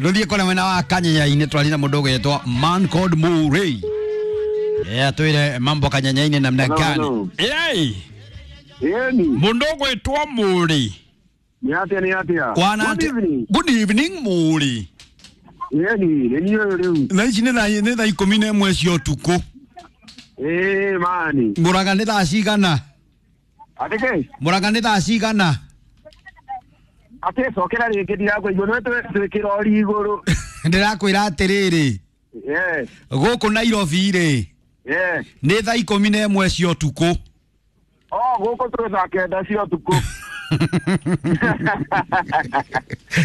Rũthiĩ kũrĩa mwena wa Kanyenya-inĩ twaria na mũndũ ũgwĩtwo Man Called Murray. Yeah, twĩre mambo Kanyenya-inĩ namna Hello, gani? hello. Yei, Yeni, mũndũ ũgwĩtwo Murray. ni atia ni atia. Kwana Good evening. Good evening Murray. Yeni, nĩ niĩ ũyũ rĩu. Thaa ici nĩ thaa 11 cia ũtukũ. Ĩĩ mani. Mũraga nĩ thaa cigana? Atĩ kĩ? Mũraga nĩ thaa cigana? Atĩ cokera rĩngĩ ndirakũigua nĩ twĩkĩra ori igũrũ. Ndĩrakwĩra atĩrĩrĩ, Yes, gũkũ Nairobi rĩ, yes. nĩ thaa 11 cia ũtukũ. Oh, gũkũ twĩ thaa 9 cia ũtukũ.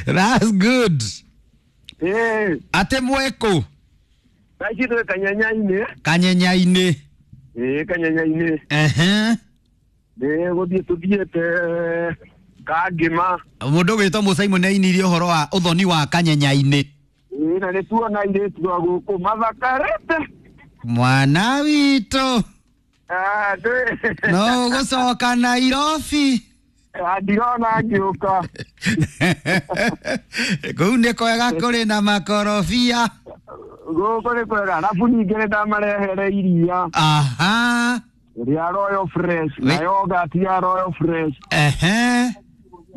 That's good. Ĩĩ, Atĩ mwekũ thaa ici twĩ Kanyenya-inĩ. Kanyenya-inĩ. Ĩĩ, Kanyenya-inĩ. Ehe. Nĩ gũthiĩ tũthiĩte Kangĩma. Mũndũ ũgwĩtwo Mũcaimũ nĩ ainirie ũhoro wa ũthoni wa Kanyenya-inĩ. Ĩĩ, na nĩ tuona airĩtu a gũkũ mathakarĩte. Mwana witũ Ah, no ũgũcoka Nairobi. Ah, ndirona ngĩũka. Kũu nĩ kwega kũrĩ na makorobia. Gũkũ nĩ kwega arabu ningĩ nĩ ndamarehere iria Aha. rĩa Royal Fresh na yogurt ya Royal Fresh. Ehe.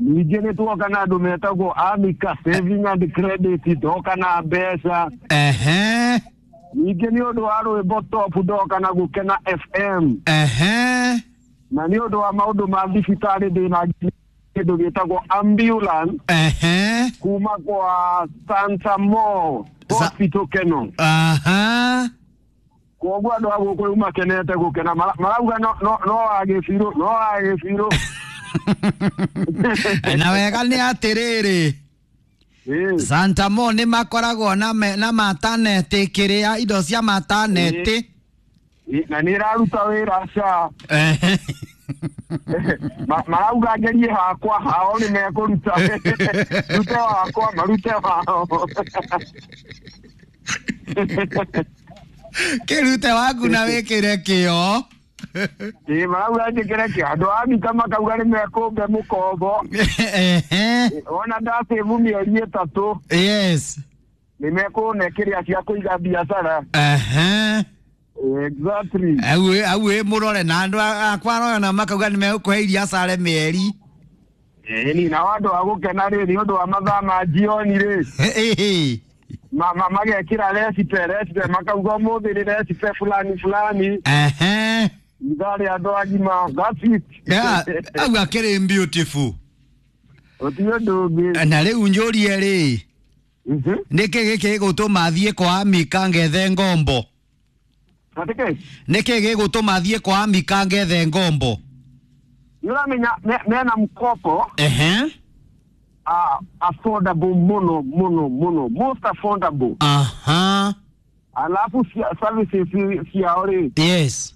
Ningĩ nĩ tuoka na andũ metagwo Amica Saving and Credit, ndoka na mbeca. Ehe. Ningĩ nĩ ũndũ wa rwĩmbo top ndoka na Gũkena FM, Ehe. na nĩ ũndũ wa maũndũ ma thibitarĩ ndĩna kĩndũ gĩtagwo ambulance Ehe. kuma kwa Santa Mo Hospital Keno. Aha. Koguo andũ a gũkũ rĩu makenete gũkena marauga no no no wage biũ, no wage biũ. Na wega nĩ atĩrĩrĩ, Ĩĩ. Santa Mo nĩ makoragwo na na mataneti kĩrĩa indo cia mataneti. Na nĩ ĩraruta wĩra ca. Ehe. Marauga ngerie hakwa hao nĩ mekũruta, rute wakwa marute wao. Kĩrute waku na wĩkĩre kĩo. Ĩĩ, marauga njĩkĩre kĩo. Andũ a Mika makauga nĩ mekũmbe mũkombo. Ehe. Ona ndacĩbu mĩeri 3. Yes. Nĩ mekũne kĩrĩa cia kũiga biacara. Ehe. Exactly. Au wĩ mũrore na andũ akwa royo na makauga nĩ megũkũhe iria care mĩeri. Ĩni, na andũ a gũkena rĩ, nĩ ũndũ wa mathaa ma jioni rĩ, Ĩhĩ. Magekĩra recipe makauga ũmũthĩ nĩ recipe fulani fulani. Ehe. Ithaa rĩa andũ agima, that's it. Yeah, au akĩrĩ beautiful. Gũtirĩ ũndũ ũngĩ. Na rĩu njũrie rĩ, nĩkĩ gĩkĩ gĩgũtũma thiĩ kwa Amika ngethe ngombo? Atĩ kĩ? Nĩkĩ gĩgũtũma thiĩ kwa Amika ngethe ngombo? Nĩ ũramenya mena mkopo. Ehe. Affordable mũno mũno mũno, most affordable. Aha. Alafu services ciao rĩ, Yes.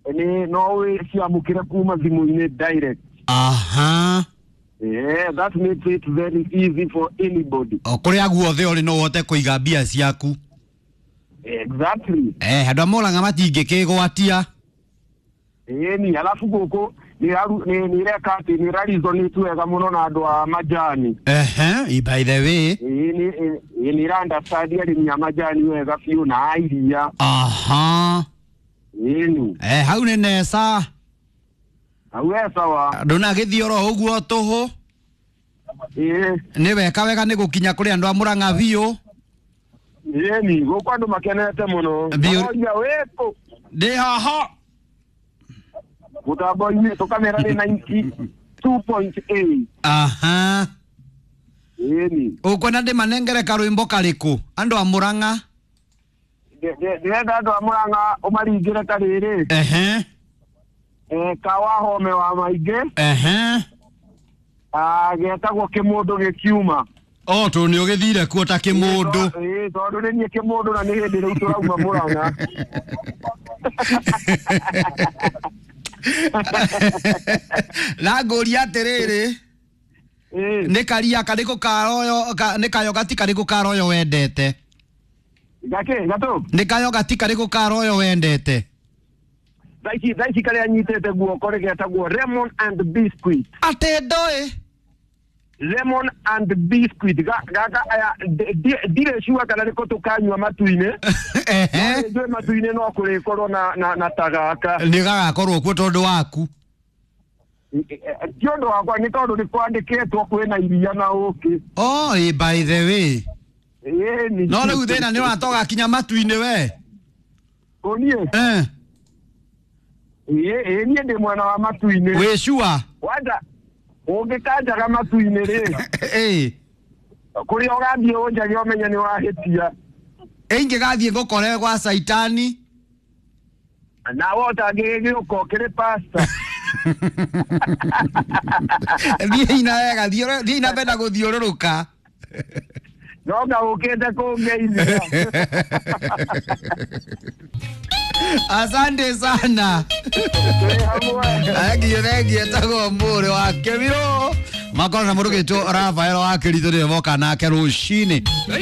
nĩ no wĩciamũkĩre kuma thimũ-inĩ direct. Aha. Yeah, that makes it very easy for anybody. O kũrĩa guothe ũrĩ no ũhote kũiga mbia ciaku. Exactly. Eh, andũ a Mũrang'a matingĩkĩgwatia. Ĩni, alafu gũkũ nĩ ĩreka atĩ nĩ ĩraresonate wega mũno na andũ a majani. Ehe, by the way. Ĩni, nĩ ĩra understand arĩmi a majani wega biũ na a iria. Aha. Ĩni. Eh, hau nĩ neca. Hau he sawa. Ndũnagĩthiĩ oro ũguo tũhũ. Ĩĩ. Nĩ weka wega nĩ gũkinya kũrĩ andũ a Mũrang'a biũ. Ĩni, gũkũ andũ makenete mũno. Biũ. Maroria wĩkũ? Ndĩ haha. Mũtambo-inĩ tũkamera nĩ 92.8. Aha. Ĩni. Ũkwenda ndĩmanengere karwĩmbo karĩkũ andũ a Mũrang'a? Ndĩrenda andũ a Mũrang'a ũmaringĩre karĩrĩ. Ehe. Ka Wahome wa maingĩ. Ehe. Ah, getagwo kĩmũndũ gĩkiuma. O tondũ nĩ ũgĩthire kuo ta kĩmũndũ. Ĩĩ, tondũ nĩ niĩ kĩmũndũ na nĩ hĩndĩ rĩu tũrauma Mũrang'a. Na ngũria atĩrĩrĩ, nĩ karia karĩkũ karoyo nĩ kayogati karĩkũ karoyo wendete? Gakĩ gatũ? Nĩ kayogati karĩkũ karoyo wendete? Thaa ici karĩa nyitĩte guoko rĩ getagwo lemon and biscuit. Atĩ ndoĩ. Lemon and biscuit. Gaka aya ndirĩ sure kana nĩko tũkanyua matu-inĩ. Ehe. Nĩ njũĩ matu-inĩ no kũrĩkorwo na ta gaka. Nĩ gagakorwo kuo tondũ waku. Ti ũndũ wakwa, nĩ tondũ nĩ kwandĩkĩtwo kwĩna iria na ũkĩ. Oh, by the way. Ĩni. No rĩu thĩna nĩ ũratoga kinya matu-inĩ we. Ũniĩ. Eh. Ĩ niĩ ndĩ mwena wa matu-inĩ. Wĩ sure? Wanja ũngĩkanjaga matu-inĩ rĩ, Ĩ. kũrĩa ũgathiĩ ũnjage ũmenye nĩ wahĩtia. Ingĩgathiĩ ngũkore gwa Saitani. Nawe ũtangĩgĩũka ũkĩrĩ pasta. Thiĩ ina wega, thiĩ ina mbere na gũthiũrũrũka. No nga ũkĩte kũngeithia. Asante sana. Twĩ hamwe. Thengiũ, thengiũ. Etagwo Mũrĩ wa Kĩbirũ. Makorwo na mũndũ ũgĩtwo Rafael wa Kĩritũ nĩwe moka nake rũcinĩ.